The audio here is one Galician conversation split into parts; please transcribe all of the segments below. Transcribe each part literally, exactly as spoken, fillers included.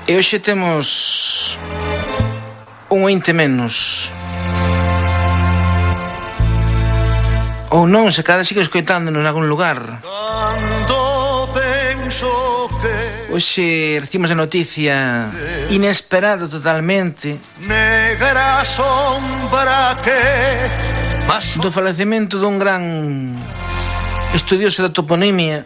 E hoxe temos un ointe menos. Ou non, se cada sigue escoitándonos en algún lugar. Hoxe recibimos a noticia inesperada totalmente do falecemento dun gran estudioso da toponimia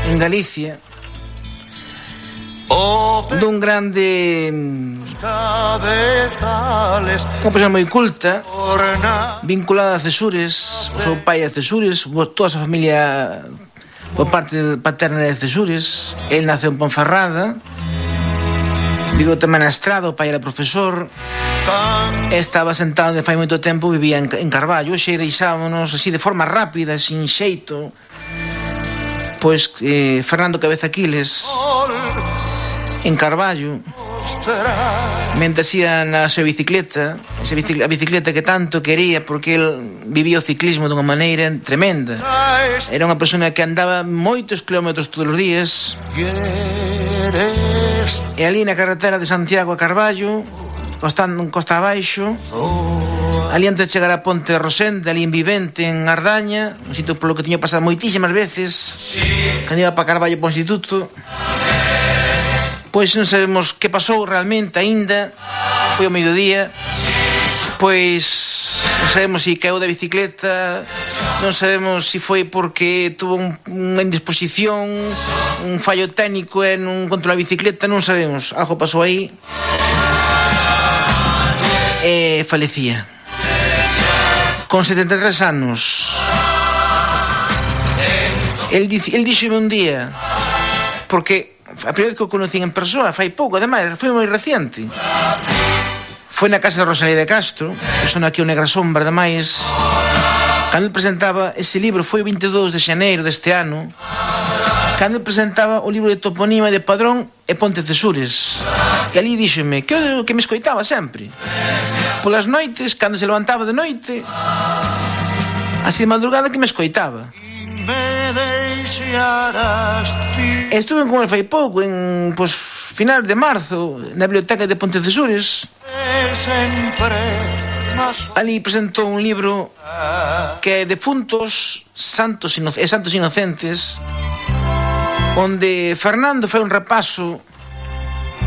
en Galicia, dun grande, unha persona moi culta, vinculada a Cesures. O seu pai é Cesures, toda a súa familia por parte paterna de Cesures. El naceu en Ponferrada, viveu tamén na Estrada, o pai era profesor, estaba sentado de fai moito tempo, vivía en, en Carballo. Hoxe deixámonos así de forma rápida, sin xeito, pois eh, Fernando Cabeza Aquiles en Carballo, mentre ia na súa bicicleta, esa bicicleta, a bicicleta que tanto quería, porque el vivía o ciclismo dunha maneira tremenda. Era unha persona que andaba moitos kilómetros todos os días, e ali na carretera de Santiago a Carballo, costando costa abaixo, ali antes de chegar a Ponte Rosente, ali en Vivente, en Ardaña, un sitio polo que tiño pasado moitísimas veces cando iba para Carballo para o instituto. Pois non sabemos que pasou realmente aínda, foi ao mediodía, pois non sabemos se caeu da bicicleta, non sabemos se foi porque tuvo un, unha indisposición, un fallo técnico e non controla a bicicleta, non sabemos, algo pasou aí e falecía con setenta e tres anos. El, el díxome un día, porque a primeira vez que o conocín en persoa fai pouco, ademais, foi moi reciente, foi na casa de Rosalía de Castro, que son aquí o Negra Sombra, ademais, cando ele presentaba ese libro, foi o veintidós de xaneiro deste ano, cando ele presentaba o libro de toponima de Padrón e Ponte Cesures, e ali díxome que eu que me escoitaba sempre polas noites, cando se levantaba de noite, así de madrugada, que me escoitaba. Estuve con el fai pouco, en pues, final de marzo, na biblioteca de Ponte Cesures. Ali presentou un libro que é Defuntos Santos Ino- e Santos Inocentes, onde Fernando fai un repaso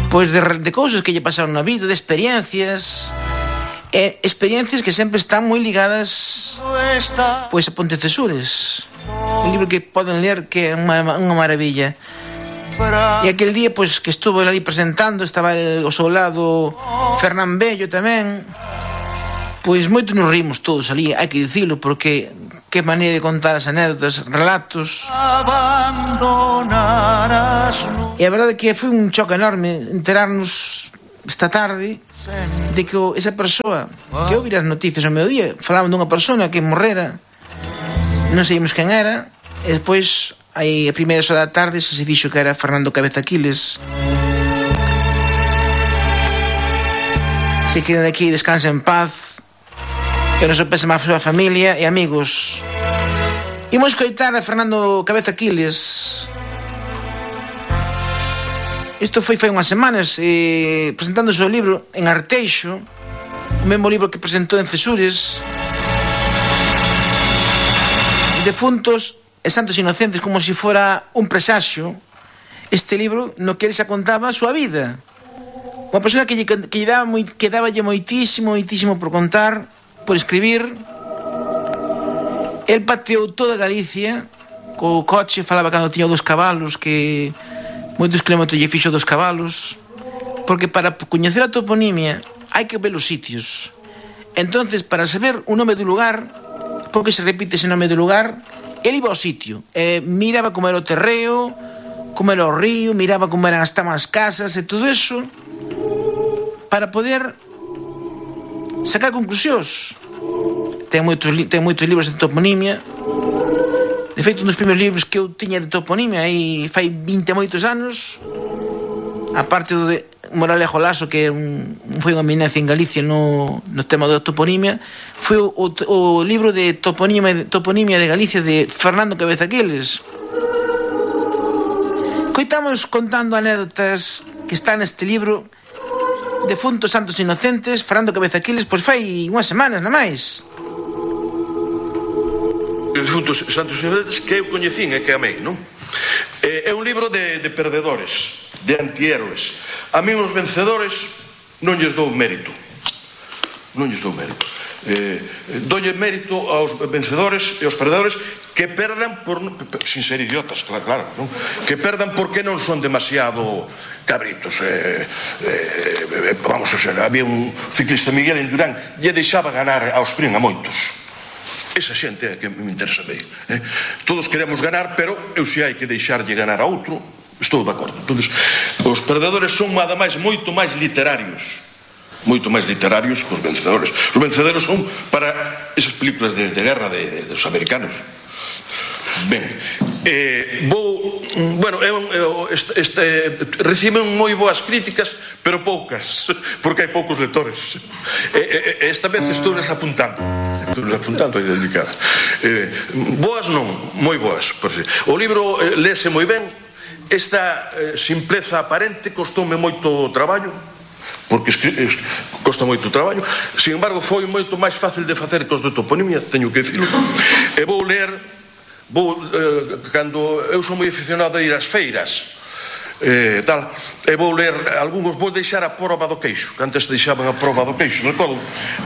pois de, de cousas que lle pasaron na vida, de experiencias, e experiencias que sempre están moi ligadas pois a Ponte Cesures. Un libro que poden ler que é unha, unha maravilla. E aquel día pois que estuvo ali presentando, estaba el, ao seu lado Fernán Bello tamén. Pois moito nos rimos todos ali, hai que dicilo, porque que maneira de contar as anécdotas, relatos. E a verdade é que foi un choque enorme enterarnos esta tarde de que esa persoa que eu vi as noticias ao mediodía, falaban dunha persona que morrera, non sabíamos quen era, e despois aí a primeira hora da tarde se se dixo que era Fernando Cabeza Aquiles. Se quedan aquí, descansa en paz, e o noso pésame a súa familia e amigos. Imos coitar a Fernando Cabeza Aquiles. Isto foi fai unhas semanas, eh, presentando o seu libro en Arteixo, o mesmo libro que presentou en Cesures, Defuntos e Santos Inocentes, como se fora un presaxio. Este libro no que ele xa contaba a súa vida. Unha persona que lle, que lle daba moi, que daballe moitísimo, moitísimo por contar, por escribir. El pateou toda Galicia co coche, falaba cando tiña dos cabalos, que moitos kilómetros lle fixo dos cabalos, porque para coñecer a toponimia hai que ver os sitios. Entonces, para saber o nome do lugar, porque se repite ese nome do lugar, ele iba ao sitio, eh, miraba como era o terreo, como era o río, miraba como eran hasta as casas e todo eso, para poder sacar conclusións. Ten moitos, ten moitos libros de toponimia. De feito, un dos primeiros libros que eu tiña de toponimia aí fai vinte e moitos anos, aparte do de Moralejo Laso, que un, foi unha eminencia en Galicia no, no tema da toponimia, foi o, o, o libro de toponimia, toponimia de Galicia de Fernando Cabeza Aquiles. Coitamos contando anécdotas que está neste libro Defuntos Santos Inocentes, Fernando Cabeza Quiles, pois fai unhas semanas, na máis. Defuntos Santos Inocentes que eu coñecín e que amei, non? É un libro de, de perdedores, de antihéroes. A mí os vencedores non lles dou mérito. Non lles dou mérito. Eh, doulle mérito aos vencedores e aos perdedores que perdan por, sin ser idiotas, claro, claro, non? Que perdan porque non son demasiado cabritos. Eh, eh, vamos a ser, había un ciclista, Miguel Indurán, lle deixaba ganar ao sprint a moitos. Esa xente é que me interesa bem, eh? Todos queremos ganar, pero eu se hai que deixarlle ganar a outro, estou de acordo. Entonces, os perdedores son ademais moito máis literarios, moito máis literarios que os vencedores. Os vencedores son para esas películas de, de guerra de, de, dos americanos. Ben, eh, vou, bueno, é un, este, este, reciben moi boas críticas, pero poucas, porque hai poucos lectores. E, e, esta vez estou les apuntando, estou les apuntando aí delicada. Eh, boas non, moi boas. O libro eh, léese moi ben. Esta eh, simpleza aparente costoume moito traballo, porque costa moito traballo. Sin embargo, foi moito máis fácil de facer que os de toponimia, teño que dicirlo. E vou ler, vou, eh, cando eu sou moi aficionado a ir ás feiras, eh, tal, e vou ler algúns, vou deixar a proba do queixo, que antes deixaban a proba do queixo, recordo,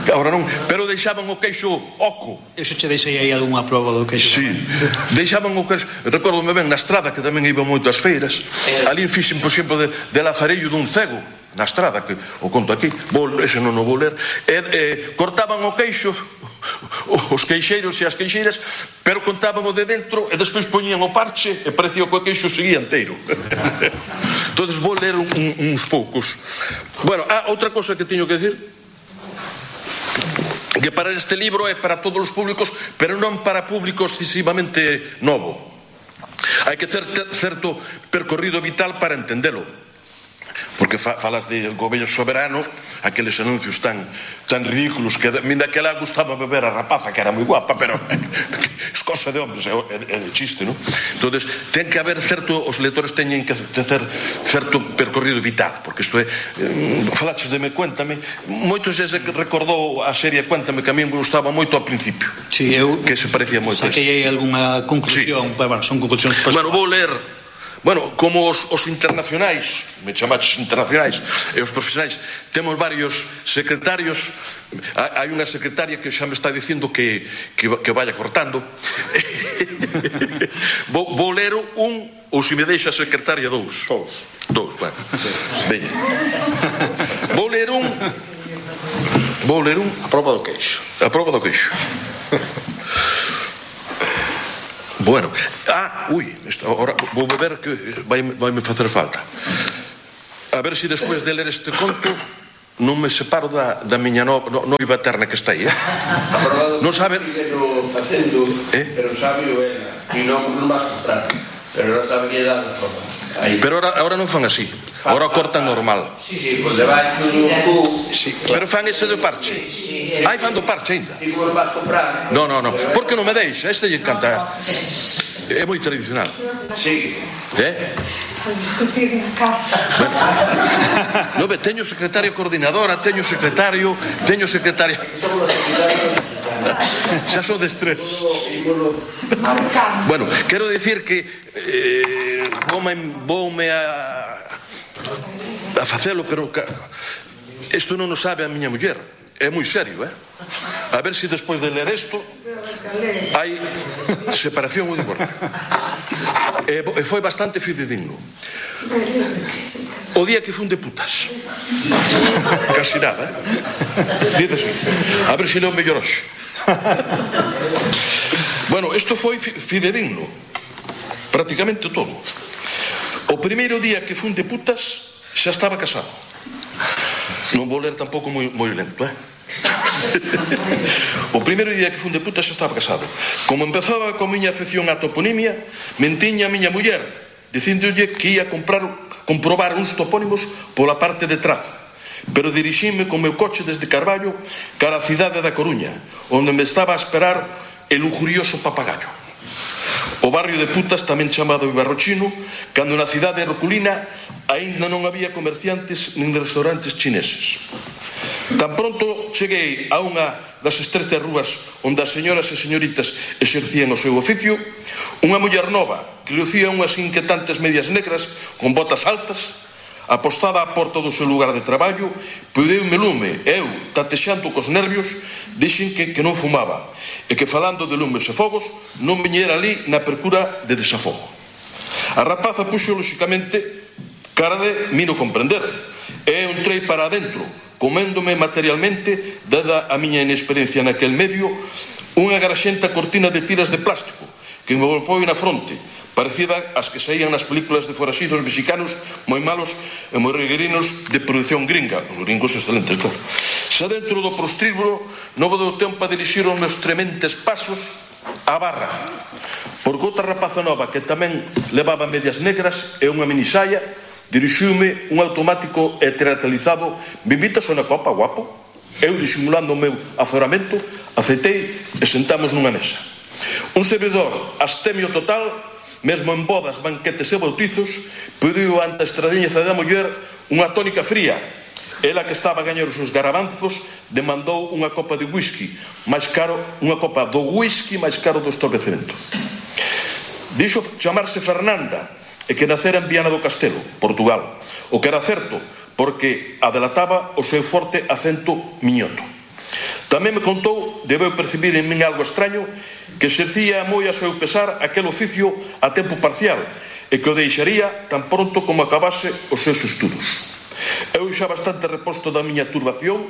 que agora non, pero deixaban o queixo oco. Eso che deixei aí algunha proba do queixo. Sí, deixaban o queixo, recordome ben na estrada, que tamén iba moito ás feiras, ali fixen, por exemplo, de, de lazarillo dun cego, na estrada, que o conto aquí, vou, ese non o vou ler, e, e cortaban o queixo, os queixeiros e as queixeiras, pero contaban o de dentro e despois poñían o parche e parecía que o queixo seguía inteiro. Entonces vou ler un, un, uns poucos. Bueno, ah, outra cosa que teño que decir, que para este libro é para todos os públicos, pero non para público excesivamente novo. Hai que ter certo percorrido vital para entendelo, porque fa, falas de goberno soberano, aqueles anuncios tan tan ridículos que min daquela gustaba beber a rapaza, que era moi guapa, pero é cosa de hombres, é, é de chiste, non? Entonces, ten que haber certo, os lectores teñen que ter certo percorrido vital, porque isto é, eh, falaches de Me Cuéntame, moitos xa se recordou a serie Cuéntame, que a mí me gustaba moito ao principio, sí, eu que se parecía moito. Saquei aí algunha conclusión, sí. Bueno, son conclusións. Bueno, vou ler. Bueno, como os, os internacionais, me chamaches internacionais, e os profesionais, temos varios secretarios. Hai unha secretaria que xa me está dicindo que, que, que vaya cortando. vou, vou ler un, ou se me deixa a secretaria dous. Dous. Dous, bueno. Veña. Vou ler un... Vou ler un... A prova do queixo. A prova do queixo. Bueno, ah, ui, isto, ahora vou beber que vai, vai me facer falta. A ver se despois de ler este conto non me separo da, da miña no, no, noiva eterna que está aí, eh? Non sabe... facendo, eh? pero sabe o ela, e non, non vas comprar, pero non sabe que dá na forma. Aí. Pero ahora, ahora non fan así, ahora cortan normal. Sí, sí, por debaixo do cu. Sí, pero fan ese de parche. Ai, fan do parche ainda. E non vas comprar. No, no, no, porque non me deixa, este lle encanta. É moi tradicional. Sí. Eh? A discutir na casa. Bueno, no, ve, teño secretaria coordinadora, teño secretario, teño secretaria... Xa son de estrés. Bueno, quero dicir que eh, voume, voume a a facelo, pero isto non o sabe a miña muller. É moi serio, eh? A ver se despois de ler isto hai separación ou divorcio. E foi bastante fidedigno. O día que fun de putas, casi nada, eh? Dice así. A ver se leo mellor hoxe. Bueno, isto foi fidedigno, prácticamente todo. O primeiro día que fun de putas xa estaba casado. Non vou ler tampouco moi, moi lento, eh? O primeiro día que fun de putas xa estaba casado. Como empezaba con miña afección á toponimia, mentiña a miña muller dicíndolle que ia comprar, comprobar uns topónimos pola parte de atrás, pero dirixime con meu coche desde Carballo cara a cidade da Coruña, onde me estaba a esperar el lujurioso papagayo. O barrio de Putas, tamén chamado Ibarrochino, cando na cidade herculina aínda non había comerciantes nin restaurantes chineses. Tan pronto cheguei a unha das estreitas rúas onde as señoras e señoritas exercían o seu oficio, unha muller nova que lucía unhas inquietantes medias negras con botas altas, apostada á porta do seu lugar de traballo, pudeu-me lume e eu, tatexando cos nervios, dixen que, que non fumaba e que falando de lumes e fogos non viñera ali na percura de desafogo. A rapaza puxo lóxicamente cara de mino comprender e eu entrei para adentro, coméndome materialmente, dada a miña inexperiencia naquel medio, unha graxenta cortina de tiras de plástico que me golpou na fronte, parecida ás que saían nas películas de foraxidos mexicanos moi malos e moi reguerinos de produción gringa. Os gringos excelentes, claro. Xa dentro do prostíbulo non deu tempo a dirixir os meus trementes pasos á barra, porque outra rapaza nova que tamén levaba medias negras e unha minisaia dirixiume un automático e teatralizado: "Me invitas a unha copa, guapo?" Eu, disimulando o meu azoramento, aceitei e sentamos nunha mesa. Un servidor astemio total, mesmo en bodas, banquetes e bautizos, pediu ante a estradiñeza da muller unha tónica fría. Ela, que estaba a gañar os seus garabanzos, demandou unha copa de whisky máis caro, unha copa do whisky máis caro do establecemento. Dixo chamarse Fernanda e que nacera en Viana do Castelo, Portugal, o que era certo, porque adelataba o seu forte acento miñoto. Tamén me contou, debeu percibir en min algo extraño, que exercía moi a seu pesar aquel oficio a tempo parcial e que o deixaría tan pronto como acabase os seus estudos. Eu, xa bastante reposto da miña turbación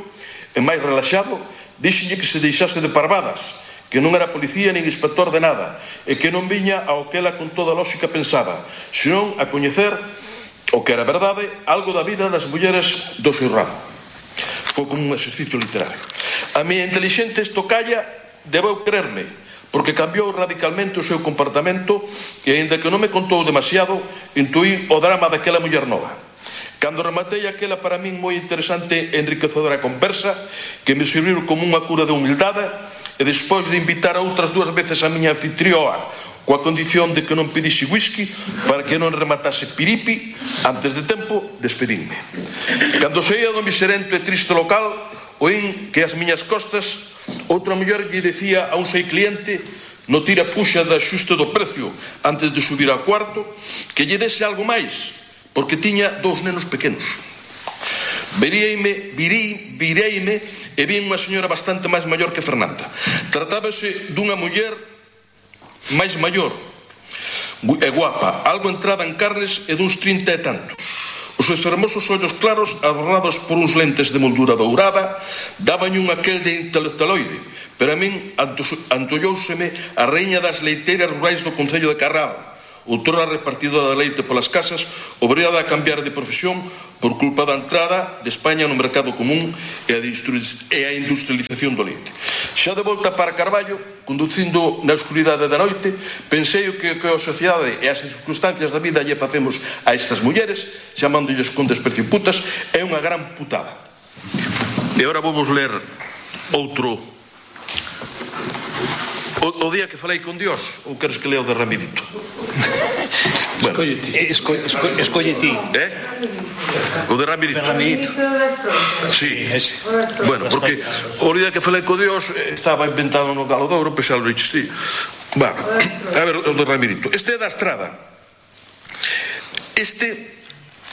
e máis relaxado, díxenlle que se deixase de parvadas, que non era policía nin inspector de nada e que non viña ao que ela con toda lógica pensaba, senón a coñecer o que era verdade, algo da vida das mulleres do seu ramo. Foi como un exercicio literario. A miña intelixente estocalla debeu creerme, porque cambiou radicalmente o seu comportamento e, aínda que non me contou demasiado, intuí o drama daquela muller nova. Cando rematei aquela para min moi interesante e enriquecedora conversa, que me serviu como unha cura de humildade, e despois de invitar a outras dúas veces a miña anfitrioa coa condición de que non pedise whisky para que non rematase piripi, antes de tempo despedinme. Cando saía do miserento e triste local, oín que ás miñas costas outra muller lle decía a un sei cliente, no tira puxa de axuste do precio antes de subir ao cuarto, que lle dese algo máis, porque tiña dous nenos pequenos. Vireime, virei, vireime e vi unha señora bastante máis maior que Fernanda. Tratábase dunha muller máis maior e guapa, algo entrada en carnes e duns trinta e tantos. Os seus fermosos ollos claros, adornados por uns lentes de moldura dourada, daban un aquel de intelectualoide, pero a min antollouseme a reina das leiteiras rurais do concello de Carral, outrora repartidora de leite polas casas, obrigada a cambiar de profesión por culpa da entrada de España no mercado común e a industrialización do leite. Xa de volta para Carballo, conducindo na escuridade da noite, pensei o que, que a sociedade e as circunstancias da vida lle facemos a estas mulleres, chamándolles con desprecio putas, é unha gran putada. E agora vamos ler outro. O, o día que falei con Dios, ou queres que leo de Ramirito? Bueno. Escolle ti. Esco, esco, escolle ti. Eh? O de Ramirito. De Ramirito. Sí. Ese. Bueno, porque o día que falei con Dios estaba inventado no Galo de Ouro, pois xa lo dices ti. Bueno, a ver, o de Ramirito. Este é da Estrada. Este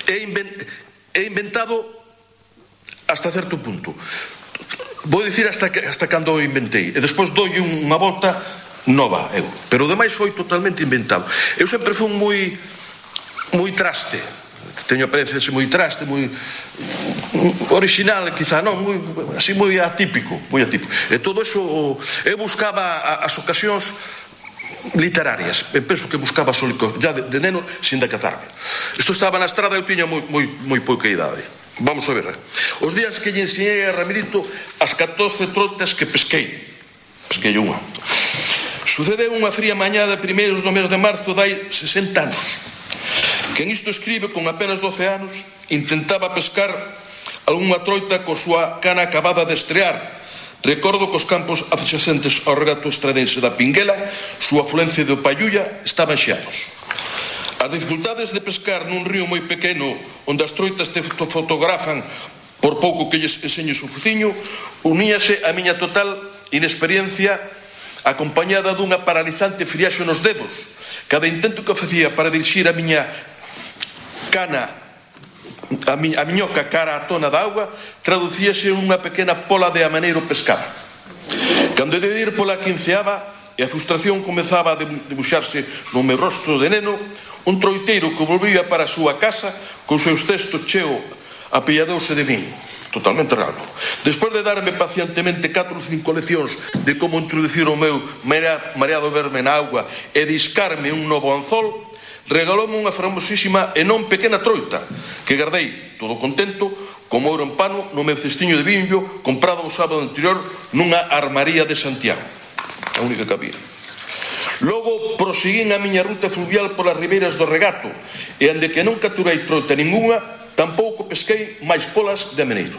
é, invent, é inventado hasta certo punto. Vou dicir hasta, que, hasta cando o inventei e despois doi unha volta nova eu, pero o demais foi totalmente inventado. Eu sempre fui moi moi traste, teño apariencia de ser moi traste, moi original, quizá non, moi, así moi atípico, moi atípico. E todo eso eu buscaba as ocasións literarias, eu penso que buscaba sólico, já de, de neno, sin decatarme. Isto estaba na Estrada, eu tiña moi, moi, moi pouca idade. Vamos a ver. Os días que lle ensinei a Ramirito as catorce trotas que pesquei. Pesquei unha. Sucedeu unha fría mañá de primeiros do mes de marzo dai sesenta anos. Quen isto escribe con apenas doce anos intentaba pescar algunha troita co súa cana acabada de estrear, Recordo que os campos adxacentes ao regato estradense da Pinguela, súa afluencia do Payulla, estaban xeados. As dificultades de pescar nun río moi pequeno onde as troitas te fotografan por pouco que lles enseñes o fuciño, uníase a miña total inexperiencia acompañada dunha paralizante friaxe nos dedos. Cada intento que facía para dirixir a miña cana, a, mi, a miñoca cara á tona da auga, traducíase unha pequena pola de amaneiro pescada. Cando de ir pola quinceava e a frustración comezaba a debuxarse no meu rostro de neno, un troiteiro que volvía para a súa casa con seus cestos cheo apilladouse de min, totalmente raro. Despois de darme pacientemente catro ou cinco leccións de como introducir o meu mareado verme na auga e discarme un novo anzol, regaloume unha fermosísima e non pequena troita que guardei, todo contento, como ouro en pano no meu cestiño de bimbo comprado o sábado anterior nunha armaría de Santiago, a única que había. Logo proseguín a miña ruta fluvial polas ribeiras do regato e ande que non capturei troita ninguna, tampouco pesquei máis polas de ameneiro.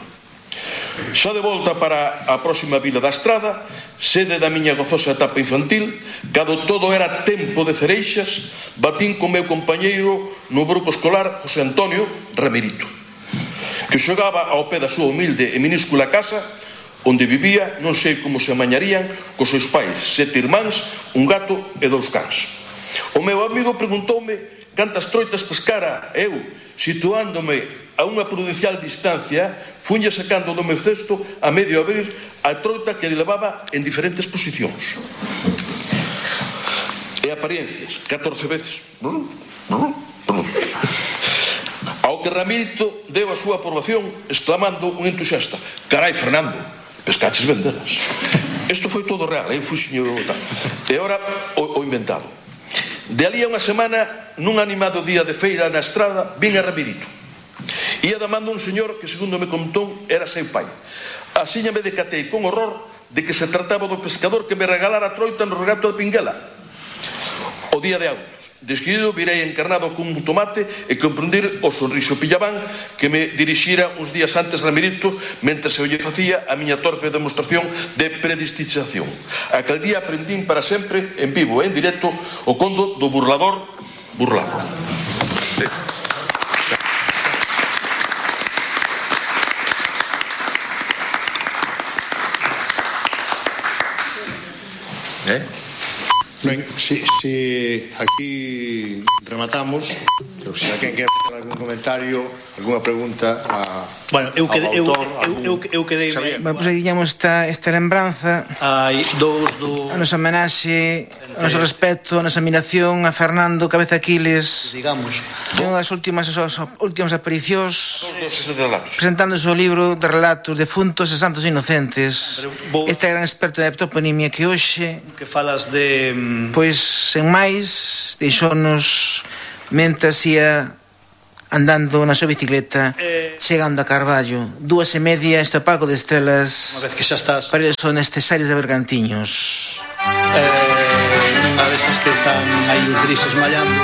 Xa de volta para a próxima vila da Estrada, sede da miña gozosa etapa infantil, cando todo era tempo de cereixas, batín co meu compañeiro no grupo escolar José Antonio Ramirito, que xogaba ao pé da súa humilde e minúscula casa, onde vivía, non sei como se amañarían, cos seus pais, sete irmáns, un gato e dous cans. O meu amigo preguntoume cantas troitas pescara eu, situándome a unha prudencial distancia, funlle sacando do meu cesto a medio abrir a troita que le levaba en diferentes posicións e apariencias, catorce veces. Ao que Ramirito deu a súa aprobación exclamando un entusiasta: carai, Fernando, pescaches vendelas. Isto foi todo real, eu fui señor tal. E ora o, o inventado. De ali a unha semana, nun animado día de feira na Estrada, vin a Ramirito. Ia damando un señor que, segundo me contou, era seu pai. Así me decatei con horror de que se trataba do pescador que me regalara a troita no regato de Pinguela. O día de autos. Desquerido, virei encarnado con un tomate e comprender o sorriso pillabán que me dirixira uns días antes Ramirito mentre se lle facía a miña torpe demostración de predestinación. Aquel día aprendín para sempre, en vivo e en directo, o conto do burlador burlado. Sí. ¿Eh? Ben, si, si aquí rematamos, pero se alguén quer facer algún comentario, algunha pregunta a, bueno, eu quedei, ao autor, eu, eu, eu, eu quedei bueno, pois aí digamos esta, esta lembranza, hai dous do a nosa homenaxe, o noso respeto, a nosa admiración a Fernando Cabeza Aquiles, digamos, unha das últimas, as últimas aparicións relatos. presentando o seu libro de relatos defuntos e santos inocentes. Vou- Este gran experto de toponimia que hoxe, que falas de pois, sen máis, deixounos mentras ia andando na súa bicicleta, Eh. chegando a Carballo, dúas e media, este opaco de estrelas, unha vez que xa estás para son estes aires de Bergantiños. eh, nunha desas que están aí os grises mallando.